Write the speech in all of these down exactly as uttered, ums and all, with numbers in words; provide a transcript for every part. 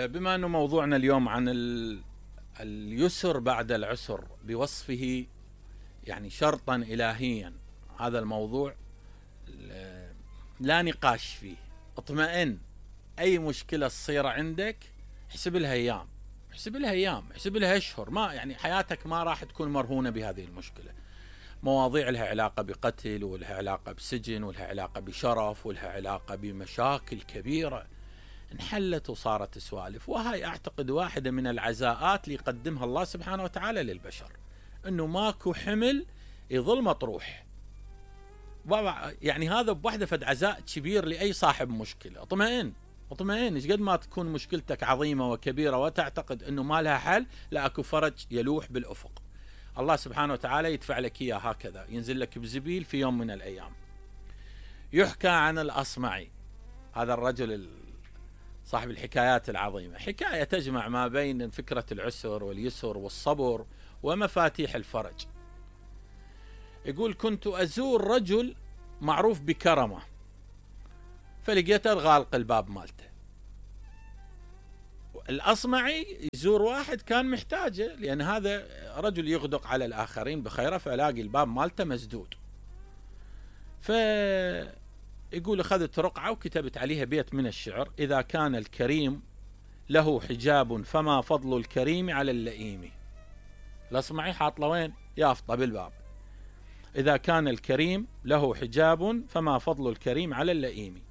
بما أنه موضوعنا اليوم عن اليسر بعد العسر بوصفه يعني شرطا إلهيا، هذا الموضوع لا نقاش فيه. اطمئن، أي مشكلة تصير عندك احسب لها أيام، احسب لها أيام، احسب لها أشهر، ما يعني حياتك ما راح تكون مرهونة بهذه المشكلة. مواضيع لها علاقة بقتل، ولها علاقة بسجن، ولها علاقة بشرف، ولها علاقة بمشاكل كبيرة انحلت وصارت سوالف. وهاي أعتقد واحدة من العزاءات اللي يقدمها الله سبحانه وتعالى للبشر، أنه ماكو حمل يظل مطروح. يعني هذا بوحدة فد عزاء كبير لأي صاحب مشكلة. اطمئن اطمئن، ايش قد ما تكون مشكلتك عظيمة وكبيرة وتعتقد أنه ما لها حل، لا أكو فرج يلوح بالأفق. الله سبحانه وتعالى يدفع لك إياه هكذا، ينزل لك بزبيل في يوم من الأيام. يحكى عن الأصمعي، هذا الرجل صاحب الحكايات العظيمة، حكاية تجمع ما بين فكرة العسر واليسر والصبر ومفاتيح الفرج. يقول: كنت أزور رجل معروف بكرمه، فلقيته غالق الباب مالته. الأصمعي يزور واحد كان محتاجه، لأن هذا رجل يغدق على الآخرين بخيره، فلاقي الباب مالته مسدود. فيقول: أخذت رقعة وكتبت عليها بيت من الشعر: إذا كان الكريم له حجاب فما فضل الكريم على اللئيم. الأصمعي حاط له وين؟ يافطة بالباب. إذا كان الكريم له حجاب فما فضل الكريم على اللئيم.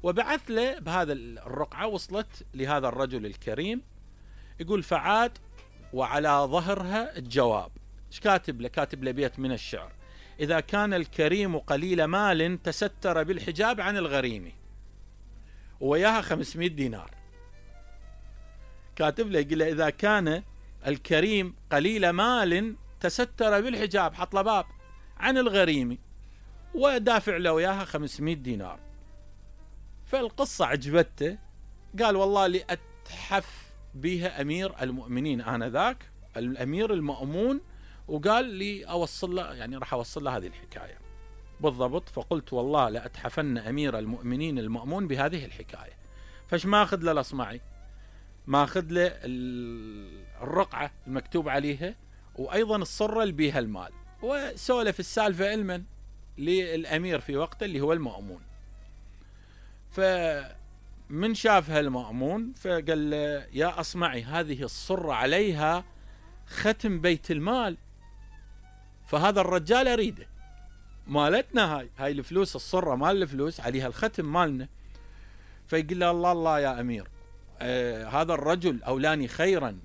وبعث له بهذا الرقعة، وصلت لهذا الرجل الكريم. يقول: فعاد وعلى ظهرها الجواب. ايش كاتب له؟ كاتب له بيت من الشعر: إذا كان الكريم قليل مال تستر بالحجاب عن الغريم. وياها خمسمائة دينار. كاتب له يقول له: إذا كان الكريم قليل مال تستر بالحجاب، حط له باب عن الغريم، ودافع له وياها خمسمائة دينار. فالقصة عجبته، قال: والله لأتحف بها أمير المؤمنين آنذاك، الأمير المأمون، وقال لي أوصل له، يعني راح أوصل له هذه الحكاية بالضبط. فقلت: والله لأتحفن أمير المؤمنين المأمون بهذه الحكاية. فاش ما أخذ له الأصمعي؟ ما أخذ له الرقعة المكتوب عليها، وأيضا الصرة اللي بيها المال، وسولف السالفة علما للأمير في وقته اللي هو المأمون. فمن شافها المأمون فقال له: يا أصمعي، هذه الصرة عليها ختم بيت المال، فهذا الرجال أريده، مالتنا هاي هاي الفلوس، الصرة مال الفلوس عليها الختم مالنا. فيقول له: الله الله يا أمير، آه هذا الرجل أولاني خيرا،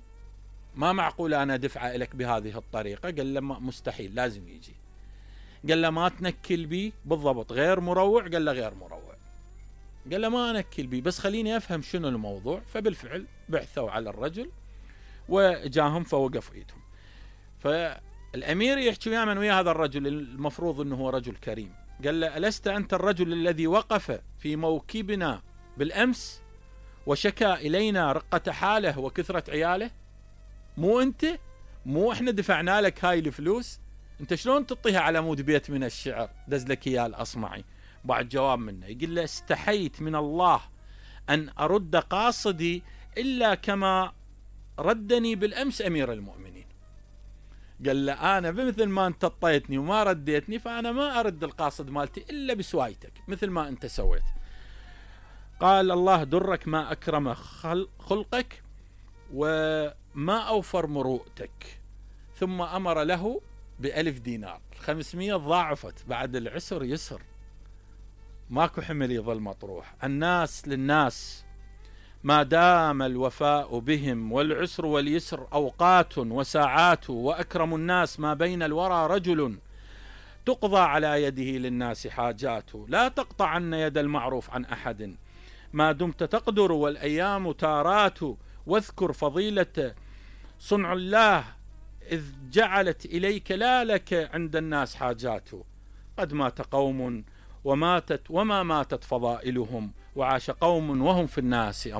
ما معقول أنا دفعه لك بهذه الطريقة. قال له: مستحيل، لازم يجي. قال له: ما تنكل بي بالضبط، غير مروع؟ قال له: غير مروع. قال له: ما أنكل بي، بس خليني أفهم شنو الموضوع. فبالفعل بعثوا على الرجل وجاهم فوقف إيدهم. فالأمير يحكي ويا من ويا هذا الرجل، المفروض أنه هو رجل كريم. قال له: ألست أنت الرجل الذي وقف في موكبنا بالأمس وشكى إلينا رقة حاله وكثرة عياله؟ مو أنت؟ مو إحنا دفعنا لك هاي الفلوس؟ أنت شلون تطيها على مود بيت من الشعر دز لك إياه الأصمعي؟ بعد جواب منه يقول له: استحيت من الله أن أرد قاصدي إلا كما ردني بالأمس أمير المؤمنين. قال له: أنا بمثل ما أنت طيتني وما رديتني، فأنا ما أرد القاصد مالتي إلا بسوايتك مثل ما أنت سويت. قال: الله درك ما أكرم خلقك وما أوفر مروءتك. ثم أمر له بألف دينار. خمسمائة ضاعفت، بعد العسر يسر، ماكو حمل يظل مطروح. الناس للناس ما دام الوفاء بهم، والعسر واليسر أوقات وساعات، وأكرم الناس ما بين الورى رجل تقضى على يده للناس حاجات. لا تقطعن يد المعروف عن أحد ما دمت تقدر، والأيام تارات. واذكر فضيلة صنع الله إذ جعلت إليك لا لك عند الناس حاجات. قد مات قوم وماتت وما ماتت فضائلهم، وعاش قوم وهم في الناس أموات.